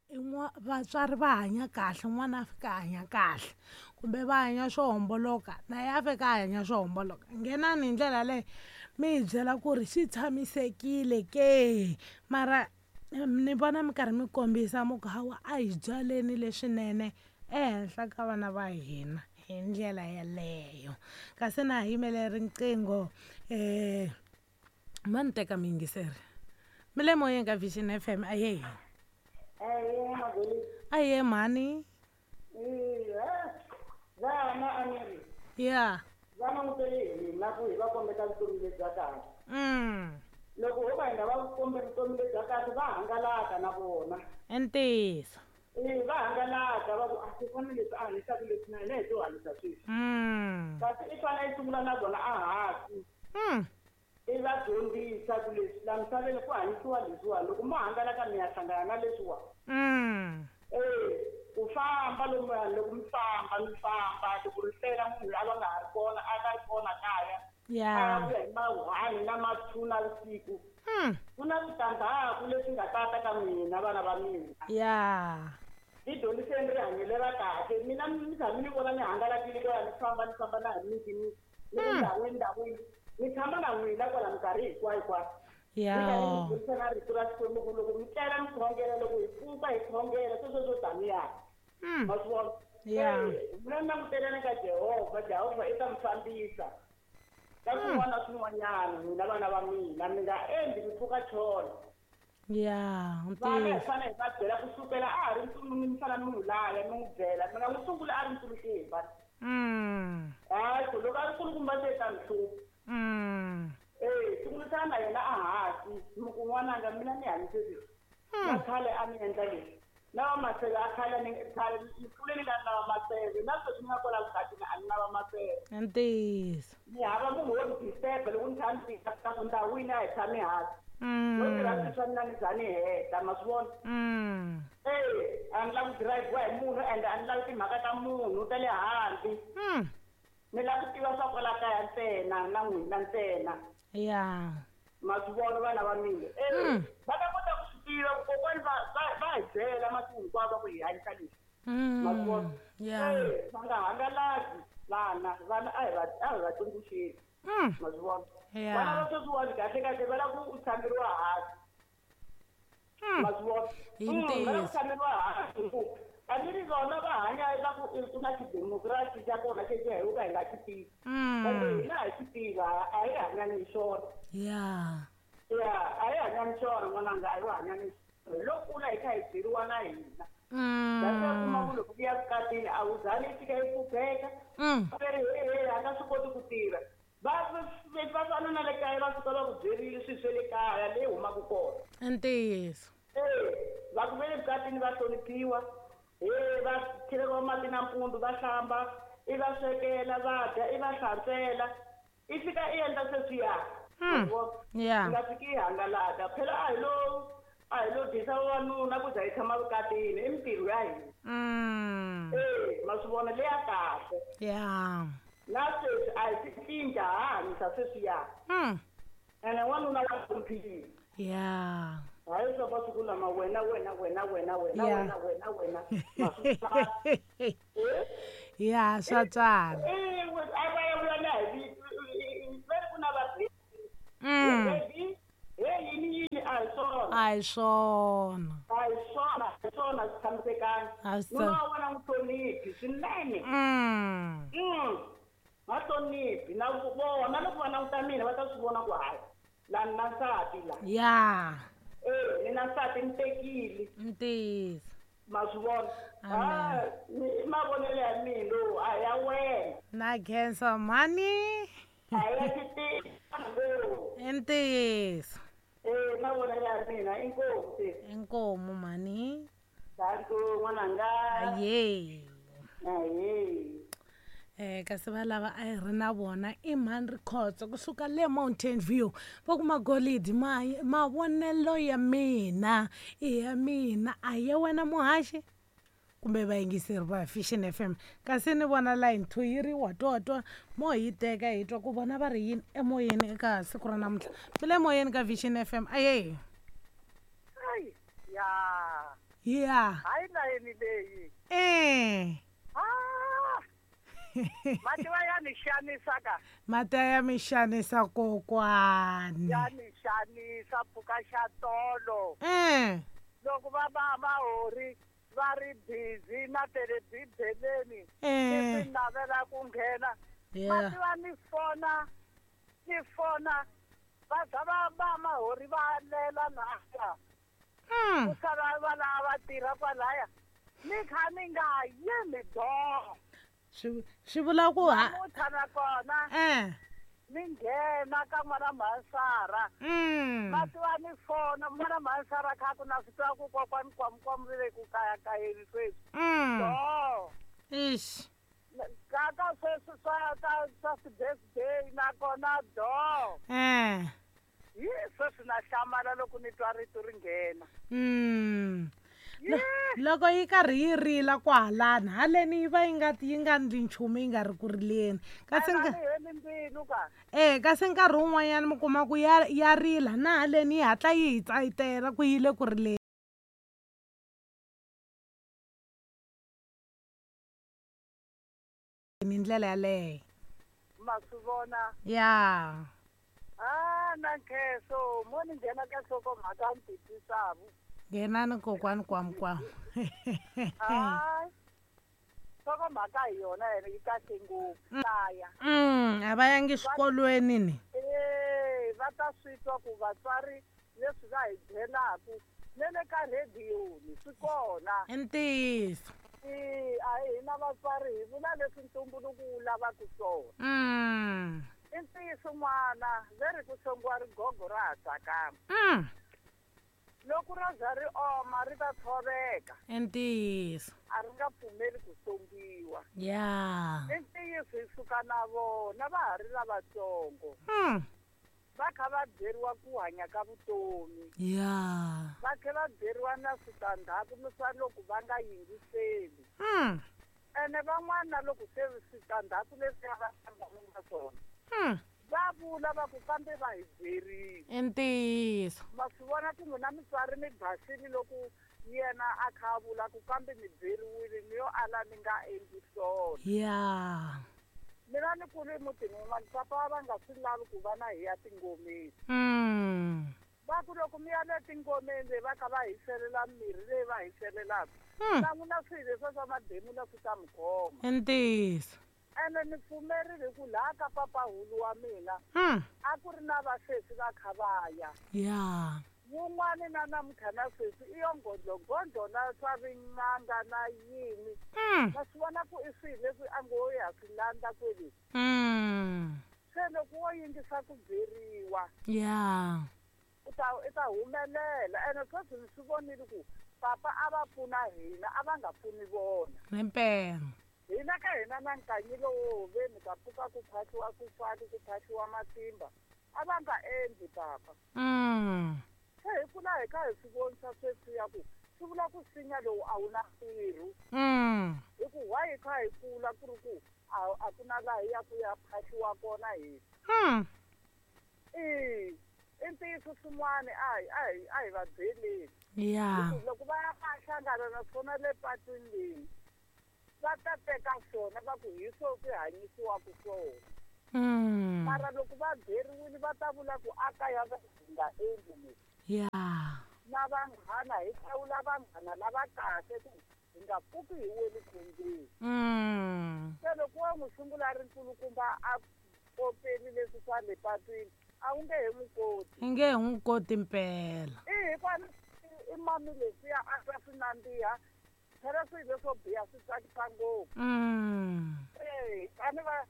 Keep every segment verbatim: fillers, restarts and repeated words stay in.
Vatswari va hanya kahle, n'wana a fika a hanya kahle, kumbe va hanya swo homboloka na ye a fika a hanya swo homboloka. Nghenani hi ndlela yaleyo mi hi byela ku ri swi tshamisekile ke? Mara ni vona mi karhi mi kombisa mi ku hawa a hi byaleni leswinene ehenhla ka vana va hina hi ndlela yeleyo. Kasi na ha yimele riqingho, um ma ni teka muyingiseri. Mi le moyeni ka Vision F M, ahee. Ahee mhani. Vana a ni ri ya va langutele hina ku hi va kombeta vutomi lebya kahle. Mm loko ho va hi nga va kombi vutomi lebya kahle, va hangalaka na vona. I ntiyiso. E, va hangalaka, va ku a kokwana leswi a hanyisaka leswi, na hina hi to hanyisa sweswi. Mm kasi i fanele i sungula na vona a hansi, mm i va dyondzisa ku leswi la misaveni ku hanyisiwa leswiwa, loko mo hangalaka mi ya hlangana na leswiwa. Mm e ku famba lomuya, loko mi famba mi famba, loko ri hlela munhu a va nga ha ri kona, a nga ri kona kaya, ya a vuya hi ma-one na ma-two na vusiku, mm ku na switandzhaku leswi nga tata ka mina, vana va mina. Ya ti dyondziseni rihanyo lera kahle. Mina mi tshami ni vona ni hangalakile kwala, ni famba ni famba na hi miti, ni ni ku ndhawini ndhawini, ni tshama na n'wina kwala minkarhi hinkwayo hinkwayo, ya ni karhi mi dyondzisa na rito ra Xikwembu, ku loko mi tlela mi khongela, loko hi pfuka hi khongela, sweswo swo taniya. mm Ma swi vona? Ya. Mina ni languteleni ka Jehovha. Jehovha i ta mi fambisa ka swin'wana na swin'wanyana. N'wina vana va mina, mi nga endli mi pfuka chona. Ya vana hi ntiyiso. Fanele hi va byela kusukela a ha ri ntsulu, mi fana mi n'wi laya, mi n'wi byela, mi nga n'wi sunguli a ri ntsulukumba. Mm hayi, ku loko a ri nkulukumba se ta mi hlupha. mm E, sungulisana na yena a hansi, mi ku n'wananga, mina ni hanyise leswi na khale, a ni endla leswi na va maseve a khale, ni khale ni kule ni nga ri na va maseve, na sweswi ni nga kwala vukatini a ni na va maseve. I ntiyiso. Ni hava munhu wo ni disturb loko ni kha ni tika ku ndhawini, a hi tshami hansi, no tirha mm swilo swa mina, ni za ni heta, ma swi vona? mm E, a ni lavi ku dirayiviwa hi munhu, ende a ni lavi timhaka ta munhu ta le handle. Mm ni lava ku tiva swa kwala kaya ntsena na n'wina ntsena. Ya ma swi vona, vana va mina? E, Mm. va ta kota ku swi tiva ku kokwani va va va hi byela masiku hinkwawo, va ku hi hanyisa leswi, ma swi vona? mm ya E, va nga hangalaki vana. Vana a hi va a hi va tsundzuxeni. mm Ma swi vona? Ya. Vana va sweswiwani kahle kahle va lava ku tshameriwa hansi. Mm Ma swi vona? Hi Mm, va lava ku ntiyiso. tshameriwa hansi ngopfu. A ni ri vona va hanya va ku i ku na xidemokirasi xa kona xexi hi ka hi nga xi tivi, kambe mm hina hi xi tiva, a hi hanyani hi xona. Ya ya, a hi hanyani xona, n'wananga, a hi hanyani hi lo kula hi kha hi byeriwa na hina. That's why kuma mm ku loko ku ya vukatini a wu zani i fika i pfupheka, mm va ri he, a nga swi koti ku tirha. Va va fana na le kaya, va fika va ku byerile swilo swa le kaya leyi humaka kona. I ntiyiso. E, va ku ve le vukatini va hloniphiwa, he, va cheleriwa mati nampundzu, va hlamba, i va swekela va dya, i va hlantswela, i fika i endla sweswiya. mm ya I nga fiki i hangalaka phela. A hi lo a hi lo dyisa vavanuna ku za hi tshama vukatini, i mintirho ya hina. mm E, ma swi vona leya kahle? Ya. Na sweswi a hi swi cinca, ha hanyisa sweswiya. mm Ene n'wanuna wa hloniphiwa. Ya hayi, swa masiku lama, wena wena wena wena wena, Ya. wena wena wena, ma swi vona? Ya, swa tswala. E, a va ya vuya na hi va ri ku na va mm baby, he, yini yini, a hi swona. A hi swona. A hi swona, a hi swona, swi tshamisekanga. A swi Nuna wa wena n'wi hloniphi swinene. mm Mm. va hloniphi na vona, loko va languta mina va ta swi vona ku hayi, la ni na nsati la. Ya e, ni na nsati, ni tekile. Ntiyiso. Ma swi vona? Amen. Ah, ni- i mavonelo ya mina lowu, a ya wena. Na khensa mhani. A ya xitiva. I ntiyiso. E, mavonelo ya mina, inkosi. Inkomu mhani. Danko, n'wananga. Aye. Ahe. Eh kasi va lava a hi ri na vona i mhani Rikhotso kusuka le Mountain View, va ku magolidi ma mavonelo ya mina i ya mina, a ya wena muhaxi kumbe vayingiseri va Vision F M. Kasi ni vona line two yi ri watwatwa, mo hi teka hi twa ku vona va ri yini emoyeni eka siku ra namuntlha. Mi le moyeni ka Vision F M, aye. Ya. Yeah. Hayi layeni leyi. Eh. Ah. Mati va ya ni xanisa ka. Mati ya mi xanisa kokwani. Ya ni xanisa pfuka xa tolo. Eh. Loko va va va hori va ri busy na telebibeleni. Eh. Ni navela ku nghena. Yeah. Mati va ni fona. Ni fona. Va za va va mahori va lela naya. Mm. Ku sala va lava tirha kwalaya. Ni kha ni nga yimi do. Swi swi vula ku ha Namuntlha nakona eh. ni nghena ka n'wana Mhansara. Mm. Mati va ni fona n'wana Mhansara kha ku na swi tiva ku kokwani Kwamukwamu ri le ku kayakayeni sweswi. Mm. Do. Ish. Ka ka sweswi swa ka swa ti-birthday nakona do. Eh. Hi sweswi na hlamala loko ni twa rito ri nghena. Mm. Yee! Loko yi karhi yi rila kwahalani haleni yi va yi nga yi nga ndli nchumu yi nga ri ku rileni kasi A nka ni heli mbilu ka. eh kasi nkarhi wun'wanyana mi kuma ku ya ya rila na haleni yi hatla yi hi tsayitela ku yi le ku rileni hi ndlela yaleyo. Ma swi vona. Ya. Ah, na nkhenso mo ni nghena ka nhlokomhaka ni titwisavu. Nghenani kokwani Kwamukwamu. Hayi. Nhlokomhaka hi yona yena yi kahle ngopfu. Kaya. Mm, a va yangi xikolweni ni. Eh, va ta swi twa ku vatswari leswi va hi byelaku na le ka rhediyoni swi kona. I ntiyiso. Eh, a hi hina vatswari hi vula leswi ntumbuluko wu lavaka swona. Mm. I ntiyiso n'wana ve ri ku songiwa rigogo ra ha tsakama. Mm. Loko ro za ri oma ri ta tshoveka. I ntiyiso. A ri nga pfumeli ku songiwa. Ya. I ntiyiso hi suka na vona va ha ri lavatsongo. Mm. Va kha va byeriwa ku hanya ka vutomi. Ya. Va tlhela va byeriwa na switandzhaku swa loko va nga yingiseli. Mm. Ene van'wana na loko se switandzhaku leswiya va hlangana na swona. Mm. Va vula va ku kambe va hi byerile. I ntiyiso. Ma swi vona ku n'wina mutswari mi basile loko yena a kha a vula ku kambe mi byeriwile ni yo ala ni nga endli swona. Ya. Mina ni kule emutini wun'wana papa va nga swi lavi ku va na hi ya tingomeni. Mm. Va ku loko mi ya le tingomeni leyi va kha va hi selela mirhi leyi va hi selelaka. Mm. Na n'wina swilo leswiya swa mademula swi ta mi khoma. I ntiyiso. Ene ni pfumerile ku laha ka papahulu wa mina Mm. a ku ri na vasesi va kha va ya. Ya. Wun'wani na namuntlha na sweswi i yo gondzogondzo na swa vin'anga na yini. Mm. Ma swi vona ku i swilo leswi a ngo ya swi landza kwele. Mm. Se loko wo yingisa ku byeriwa Ya. u ta i ta humelela ene sweswi ni swi vonile ku papa a va pfuna hina a va nga pfuni vona. Himpela. Hina ka hina na nkanyi lowo veni ka pfuka ku phahliwa swifaki ku phahliwa matimba a va nga endli papa. Mm. Se hi kula hi kha hi swi vonisa sweswiya ku swi vula ku nsinya lowu a wu na ntirho. Mm. Hi ku why hi kha hi kula ku ri ku a a ku na laha hi yaku ya phahliwa kona hina. Mm. I i ntiyiso swin'wana a hi a hi a hi va byeleni. Ya. Hi ku loko va ya va ya hlangana na swona le patwini leyi va ta teka swona va ku hi swo swi hanyisiwaka swona. Mm. Mara loko va byeriwile va ta vula ku a kaya va hi nga endli leswi. Ya. Na vanghana hi hlawula vanghana lava kahle ku hi nga pfuki hi wele khombyeni. Mm. Se loko wo n'wi sungula a ri nkulukumba a kopeli leswi swa le patwini a wu nge he n'wi koti. I nge he n'wi koti mpela. I hikwani i mami leswiya a twa swi nandziha phela swilo leswo biha swi tsakisa ngopfu. Mm. Eh, a ni va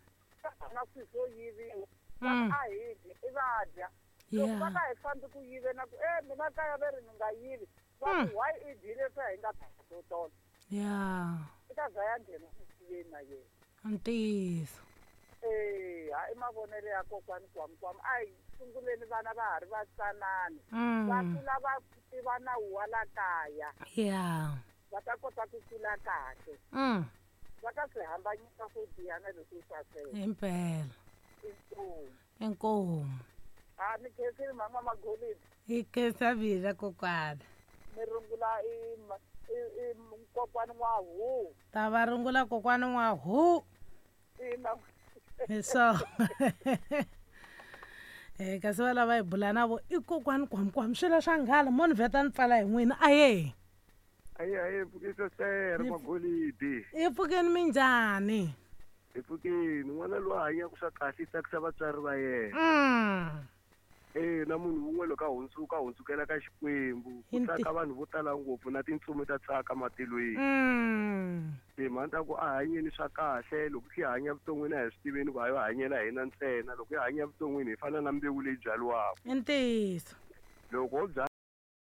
na swilo swo yiviwa. Va Mm. ku a hi dyi i va dya. Loko va Ya. nga hi fambi ku yiveni ku e mina kaya ve ri ni nga yivi va Mm. ku why i dyile swa hi nga to tona. Ya. I ta za ya nghena ku yiveni na yena. Ntiyiso. Eh, ha i mavonelo ya kokwani Kwamukwamu a hi sunguleni vana va ha ri vatsanana. Va Mm. kula va tiva nawu wa la kaya. Ya. Va ta kota ku kula kahle. Mm. Va ta swi hambanyisa swo biha na leswo saseka. Himpela. Inkomu. Inkomu. Ha ni khensile mhani N'wa Magolidi. Hi khensa mina kokwana. mi rungula i ma- i i kokwani N'wahu. Ta va rungula kokwani N'wahu. Ina. Hi swona. Eh kasi va lava hi bula na vo i kokwani Kwamkwam swilo swa nghala mo ni vheta ni pfala hi n'wina aye. Aye aye pfukisa sere magolidi. I pfukeni minjhani? Hi pfukeni n'wana loyi a hanyaka swa kahle i tsakisa vatswari va yena. Mm. Eh na munhu wun'we loko a hundzuka a hundzukela ka Xikwembu ku Hi nti- tsaka vanhu vo tala ngopfu na tintsumi ta tsaka matilweni. Mm. Timhaka ta ku a hanyeni swa kahle loko hi hanya vuton'wini a hi swi tiveni ku a yo hanyela hina ntsena loko hi hanya vuton'wini hi fana na mbewu leyi byariwaka. I ntiyiso. Loko wo byala